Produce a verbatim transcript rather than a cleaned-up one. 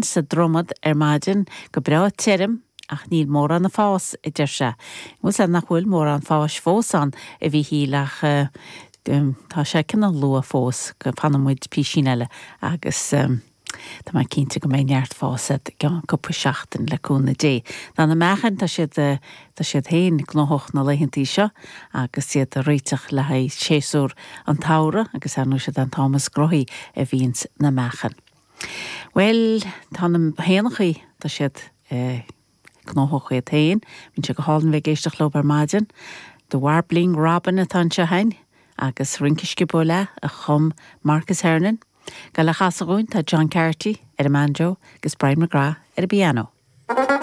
féin sa Dromad ar maidin go breá tirim ach níl mórán ag fás a deir sé. Bhuel nach bhfuil mórán fáis fós ann a Mhíchíl ach uh, tá sé cineál luath fós go bhfanfaidh muid píosín eile agus um, Tá mé cinnte go mbeidh neart fás i gceann cúpla seachtain le cúnamh Dé. Tá na meachain tá siad tá siad féin gnóthach na laethantaí seo agus iad ag réiteach le haghaidh séasúr an tsamhraidh agus an siad an t-am is gnóthaí a bhíonns na meachain. Well tá na héanachaí tá siad eh, gnóthach iad féin, bíonn sé go hálainn bheith ag éisteacht leo ar maidin, The Warbling Robin atá anseo againn agus Rince Sciobóil a chum Marcus Hernon. Go le chasadh tá John Carty ar an banjo agus Brian McGrath ar an bpianó.